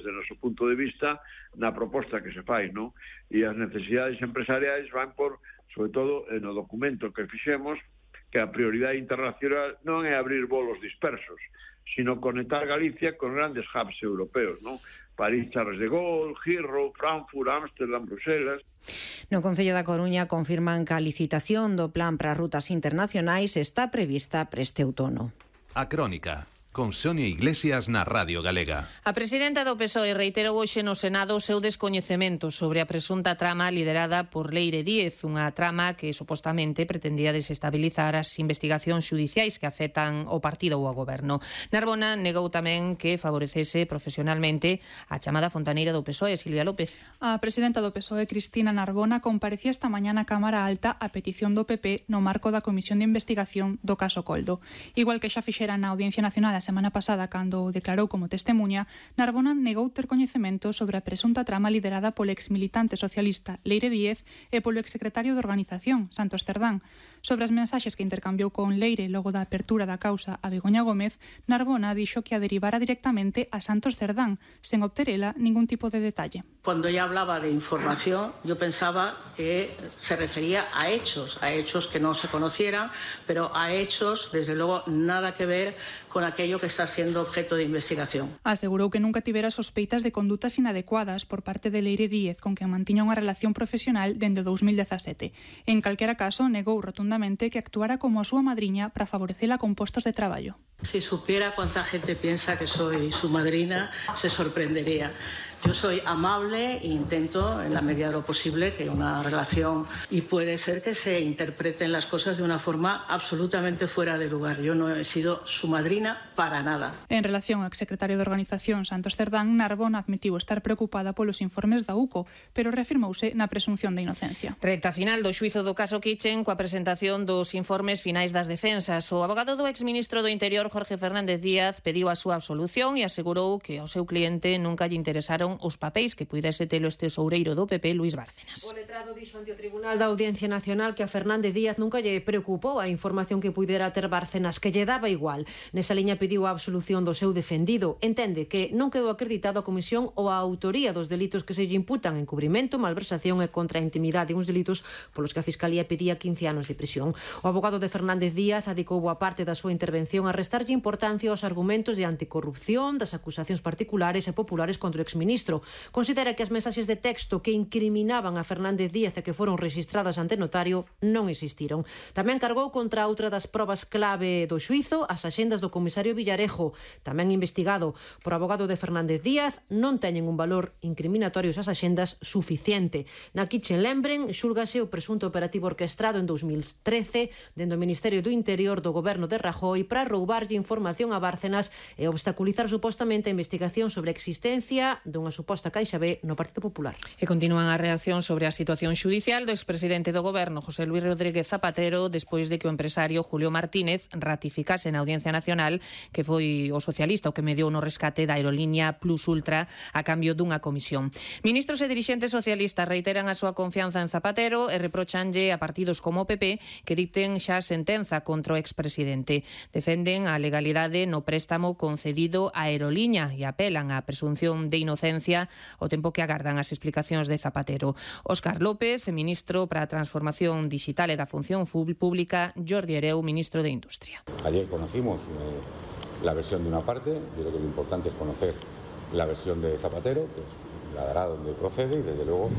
desde o noso punto de vista, na proposta que se fai, non? E as necesidades empresariais van por, sobre todo, no documento que fixemos, que a prioridade internacional non é abrir volos dispersos, sino conectar Galicia con grandes hubs europeos, non? París, Charles de Gaulle, Heathrow, Frankfurt, Ámsterdam, Bruselas. No Concello da Coruña confirman que a licitación do plan para rutas internacionais está prevista para este outono. A Crónica, con Sonia Iglesias na Radio Galega. A presidenta do PSOE reiterou hoxe no Senado o seu descoñecemento sobre a presunta trama liderada por Leire Díez, unha trama que supostamente pretendía desestabilizar as investigacións xudiciais que afectan o partido ou ao goberno. Narbona negou tamén que favorecese profesionalmente a chamada fontaneira do PSOE, Silvia López. A presidenta do PSOE, Cristina Narbona, comparecía esta mañá na Cámara Alta a petición do PP no marco da Comisión de Investigación do caso Coldo. Igual que xa fixera na Audiencia Nacional a semana pasada, cando o declarou como testemunha, Narbona negou ter coñecemento sobre a presunta trama liderada polo exmilitante socialista Leire Díez e polo exsecretario de Organización, Santos Cerdán. Sobre as mensaxes que intercambiou con Leire logo da apertura da causa a Begoña Gómez, Narbona dixo que a derivara directamente a Santos Cerdán, sen obter ela ningún tipo de detalle. Cuando ella hablaba de información, yo pensaba que se refería a hechos que no se conocieran, pero a hechos, desde luego, nada que ver con aquello que está siendo objeto de investigación. Asegurou que nunca tivera sospeitas de condutas inadecuadas por parte de Leire Díez, con quen mantiña unha relación profesional dende 2017. En calquera caso, negou rotundamente que actuara como a súa madriña para favorecela con postos de traballo. Si supiera cuánta gente piensa que soy su madrina, se sorprendería. Yo soy amable e intento, en la medida de lo posible, que una relación, y puede ser que se interpreten las cosas de una forma absolutamente fuera de lugar. Yo no he sido su madrina para nada. En relación ao exsecretario de Organización, Santos Cerdán, Narbona admitiu estar preocupada polos informes da UCO, pero reafirmouse na presunción de inocencia. Recta final do xuízo do caso Kitchen coa presentación dos informes finais das defensas. O abogado do exministro do Interior, Jorge Fernández Díaz, pediu a súa absolución e asegurou que ao seu cliente nunca lle interesaron os papéis que puidese telo este tesoureiro do PP, Luís Bárcenas. O letrado dixo ante o Tribunal da Audiencia Nacional que a Fernández Díaz nunca lle preocupou a información que puidera ter Bárcenas, que lle daba igual. Nesa liña pediu a absolución do seu defendido. Entende que non quedou acreditado a comisión ou a autoría dos delitos que se lle imputan, encubrimento, malversación e contra a intimidade, uns delitos polos que a Fiscalía pedía 15 anos de prisión. O abogado de Fernández Díaz adicou boa parte da súa intervención a restarlle importancia aos argumentos de anticorrupción, das acusacións particulares e populares contra o exministro. Considera que as mensaxes de texto que incriminaban a Fernández Díaz e que foron rexistradas ante notario non existiron. Tamén cargou contra outra das probas clave do xuízo, as axendas do comisario Villarejo, tamén investigado por abogado de Fernández Díaz, non teñen un valor incriminatorio esas axendas suficiente. Na Kitchen lembren, xúlgase o presunto operativo orquestrado en 2013 dende o Ministerio do Interior do goberno de Rajoy para roubarlle información a Bárcenas e obstaculizar supostamente a investigación sobre a existencia dunha suposta Caixa B no Partido Popular. E continúan as reaccións sobre a situación xudicial do expresidente do goberno, José Luis Rodríguez Zapatero, despois de que o empresario Julio Martínez ratificase na Audiencia Nacional que foi o socialista o que mediou no rescate da aerolínea Plus Ultra a cambio dunha comisión. Ministros e dirixentes socialistas reiteran a súa confianza en Zapatero e reprochanlle a partidos como o PP que dicten xa sentenza contra o expresidente. Defenden a legalidade no préstamo concedido á aerolínea e apelan á presunción de inocencia ao tempo que agardan as explicacións de Zapatero. Óscar López, ministro para a Transformación Digital e da Función Pública, Jordi Hereu, ministro de Industria. Ayer conocimos la versión de una parte, yo creo que lo importante es conocer la versión de Zapatero, que la dará donde procede, y desde luego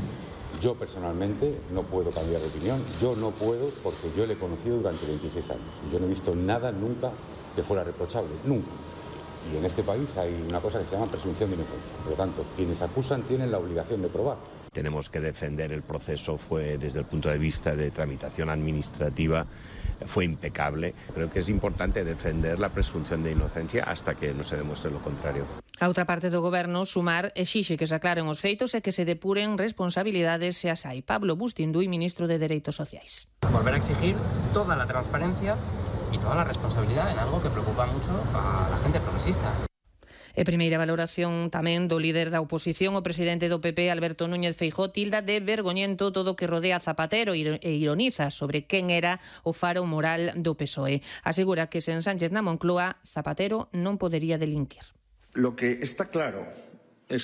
yo personalmente no puedo cambiar de opinión, yo no puedo porque yo le he conocido durante 26 años y yo no he visto nada nunca que fuera reprochable, nunca. Y en este país hay una cosa que se llama presunción de inocencia. Por lo tanto, quienes acusan tienen la obligación de probar. Tenemos que defender el proceso, fue desde el punto de vista de tramitación administrativa, fue impecable. Creo que es importante defender la presunción de inocencia hasta que no se demuestre lo contrario. A outra parte do goberno, Sumar, exixe que se aclaren os feitos e que se depuren responsabilidades se as hai. Pablo Bustinduy, ministro de Dereitos Sociais. Volver a exigir toda la transparencia y toda la responsabilidad en algo que preocupa mucho a la gente progresista. E primeira valoración tamén do líder da oposición, o presidente do PP, Alberto Núñez Feijóo, tilda de vergoñento todo o que rodea a Zapatero e ironiza sobre quen era o faro moral do PSOE. Asegura que sen Sánchez na Moncloa, Zapatero non podería delinquir. Lo que está claro